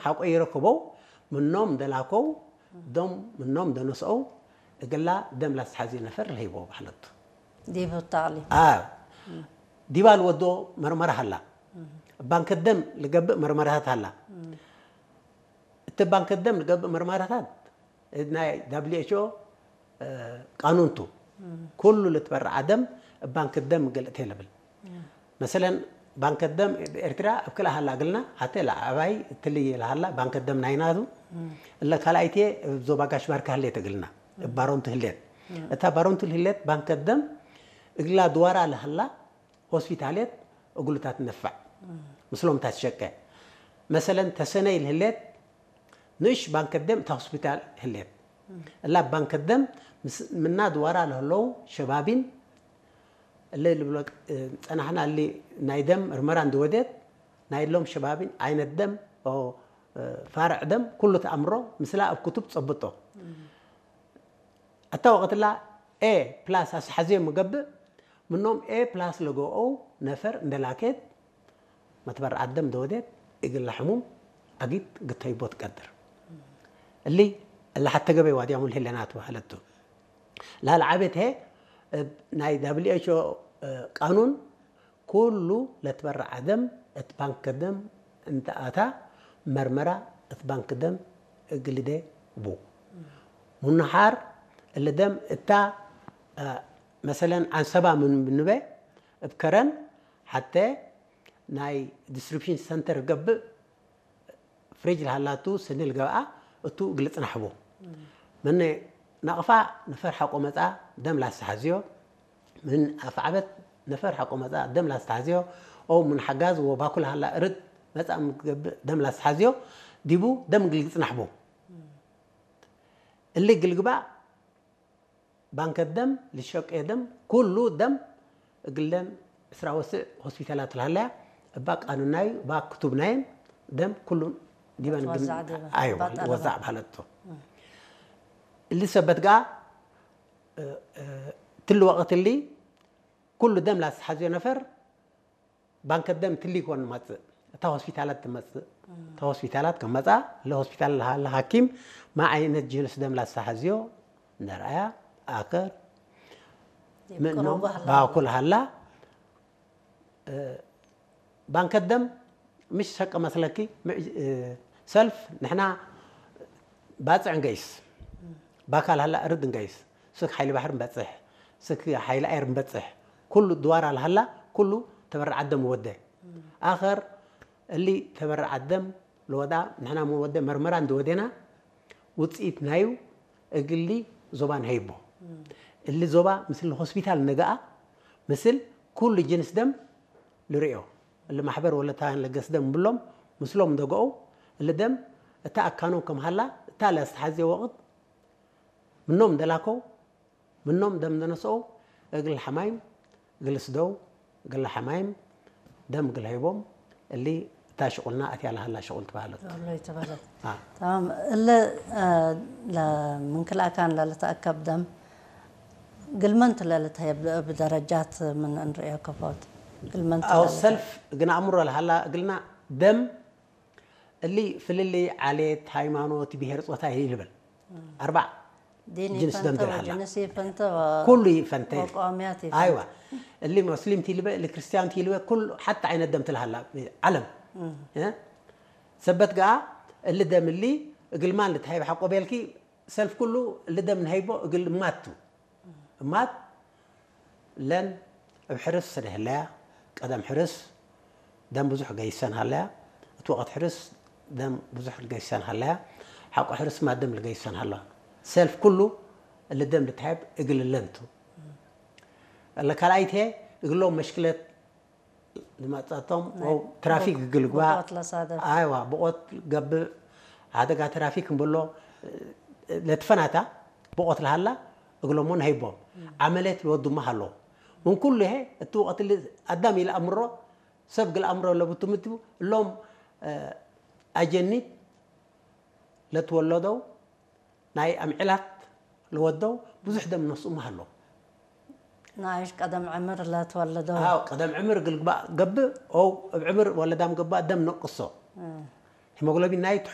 ሓቆ ይረክበው ምኖም ደላከው ደም ምኖም ደነስኦ እግላ ደም ላስተሓዝዮ ነፈር ለሂቦ ባሕለቱ ዲብ ታሊ ኣብ ዲባ ልወዶ መርመራ ሃላ ባንክ ደም ልገብእ መርመራታት ሃላ እቲ ባንክ ደም ልገብእ መርመራታት ናይ W H O ቃኑንቱ ኩሉ ልትበርዓ ደም ባንክ ደም ገልእተ ልብል መሰለን ባንክ ደም ኤርትራ ኣብ ክልኣ ሃላ ግልና ሓተ ለዓባይ ትልይ ለሃላ ባንክ ደም ናይናቱ እለ ካልኣይቴ ዞባ ጋሽ ባርካ ህሌት እግልና ባሮንቱ ህሌት እታ ባሮንቱ ህሌት ባንክ ደም እግላ ድዋራ ለሃላ ሆስፒታሌት እግሉታት ነፋዕ ምስሎም እታ ትሸቀ መሰለን ተሰነይ ልህሌት ንእሽ ባንክ ደም እታ ሆስፒታል ህሌት እላ ባንክ ደም ምስ- ምና ድዋራ ለህለው ሸባቢን እለ ልብሎ እ፣ ጸናሕና እሊ ናይ ደም ምርመራ እንድወደት ናይ ሎም ሸባቢን ዓይነት ደም ኦ፣ እ፣ ፋርዕ ደም ኩሉ ተኣምሮ ምስላ ኣብ ክቱብ ጸብጦ ኣታ ወቐትላ ኤ ፕላስ ኣስሓዝዮ ምገብእ ምኖም ኤ ፕላስ ለገኦ ነፈር እንደላኬት መትበርዓት ደም ደወዴት እግል ሕሙም ኣጊት ግተይቦ ትቀድር እሊ እላ ሓተገበይ ዋድያሙ ልህለና ተባህለቱ ላልዓቤት ሄ ናይ W H O ቃኑን ኩሉ ለትበርዓ ደም እት ባንክ ደም እንተ ኣታ መርመራ እት ባንክ ደም እግልደ ቡ ሙንሓር እለ ደም እታ መሰለን ዓንሰባ ምን ብንበ እብ ከረን ሓተ ናይ distribution center ገብእ ፍሪጅ ለሃላቱ ስኒ ልገብኣ እቱ እግል ጽናሕቦ መነ ናቕፋ ነፈር ሓቆ መጻ ደም ላስተሓዝዮ ምን ኣፍዓበት ነፈር ሓቆ መጻ ደም ላስተሓዝዮ ኦ ምን ሓጋዝ ወባኩ ለሃላ እርድ መጻ ምገብእ ደም ላስተሓዝዮ ዲቡ ደም እግል ጽናሕቦ እሊ ግልግባእ ባንከ ደም ልሸቄ ደም ኩሉ ደም እግለን ዕስራ ወስዕ ሆስፒታላት ለሃለያ እባ ቃኑናዩ እባ ክቱብናየን ደም ኩሉ ዲበን ግን ወዛዕ ዲበን። ኣይዋ እባ ጠለባ። ወዛዕ ባህለቶ እሊ ሰበት ጋ ትልወቐት እሊ ኩሉ ደም ላስተሓዝዮ ነፈር ባንከ ደም ትሊ ይኮን መጽእ እታ ሆስፒታላት ትመጽእ እታ ሆስፒታላት ከመጻ ለሆስፒታል ለሃለ ሐኪም ማ ዓይነት ጅንስ ደም ላስተሓዝዮ ነርኣያ ኣከር ምእኖም ይቅረቡ ሃላ። ባኩል ሃላ ባንከ ደም ምሽ ሰቀ መስለኪ ምዕ- ሰልፍ ንሕና ባጽዕ ንገይስ ባካል ሃላ እርድ ንገይስ ስክ ሓይሊ ባሕር ንበጽሕ ስክ ሓይሊ ኣየር ንበጽሕ ኩሉ ድዋር ኣልሃላ ኩሉ ተበርዓት ደም ወደ ኣኸር እሊ ተበርዓት ደም ለወዳ ንሕና ምን ወደ መርመራ እንድወደና ውፅኢት ናዩ እግሊ ዞባ ንሀይቦ እሊ ዞባ ምስል ሆስፒታል ነገኣ ምስል ኩሉ ጅንስ ደም ልርእዮ እሊ ማሕበር ወለታ ለገስ ደም ብሎም ምስሎም እንደገኦ እሊ ደም እታ ኣካኖም ከም ሃላ እታ ለስተሓዝዮ ወቕት ምኖም እንደላኮ ምኖም ደም እንደነስኦ እግል ሓማይም እግል ስደው እግል ሓማይም ደም እግል ሀይቦም እሊ እታ ሽቁልና ኣትያ ለሃላ ሽቁል ትባህለት ወሎ ይትበለት አ፣ تمام እለ ለምንክልኣካን ለልተኣከብ ደም ግልመንት ለልትሀብ ብደረጃት ምን እንርእዮ ከፎት ግልመንት ኣው ለልትሀብ ሰልፍ ግን ኣእምሮ ለሃላ እግልና ደም እሊ ፍልልይ ዓሌት ሃይማኖት ብሄር ጾታ ይልብል ኣርባዕ ዲን ጅንስ ደም ይፈንተ ትልሃላ ወጅንስ ይፈንተ ኩሉ ይፈንተ ወቋሚያት ይፈንተ ኣይዋ እሊ ሙስሊም ትልበ እሊ ክርስቲያን ትልበ ኩሉ ሓታ ዓይነት ደም ትልሃላ ዓለም እ? ሰበት ገኣ እሊ ደም እሊ እግልማን ልትሃይብ ሓቆ ቤልኪ ሰልፍ ኩሉ እሊ ደም ንሃይቦ እግል እማቱ እማት ለን እብ ሕርስ ስደህለያ ቀደም ሕርስ ደም ብዙሕ ገይሰን ሃለያ እቲ ወቐት ሕርስ ደም ብዙሕ ገይሰን ሃለያ ሓቆ ሕርስ ማ ደም ልገይሰን ሃለዋ ሰልፍ ኩሉ እሊ ደም ልትሃይብ እግል ለንቱ እለ ካልኣይቴ እግሎም መሽክለት ዝመጻቶም ትራፊክ ግልግባ ብቆት ለሳደፍ ኣይዋ ብቆት ገብእ ሓደጋ ትራፊክ እንብሎ ለትፈናታ ብቆት ለሃላ እግሎሞ ንሀይቦም ዓመሌት ልወዱማ ሃሎ ምን ኩሉ ይሄ እቲ ወቅት ል ኣዳም ኢለ ኣምሮ ሰብ ግል ኣምሮ ለብቱ ምትቡ እሎም ኣጀኒት ለትወለደው ናይ ኣምዕላት ለወደው ብዙሕ ደም ነስኡ ሃሎ ንኣይሽ ቀደም ዕምር ለትወለደው ኣው ቀደም ዕምር ግልግባእ ገብእ ኦው እብ ዕምር ወለዳም ገብእ ደም ነቅሶ ሂሞግሎቢን ናይ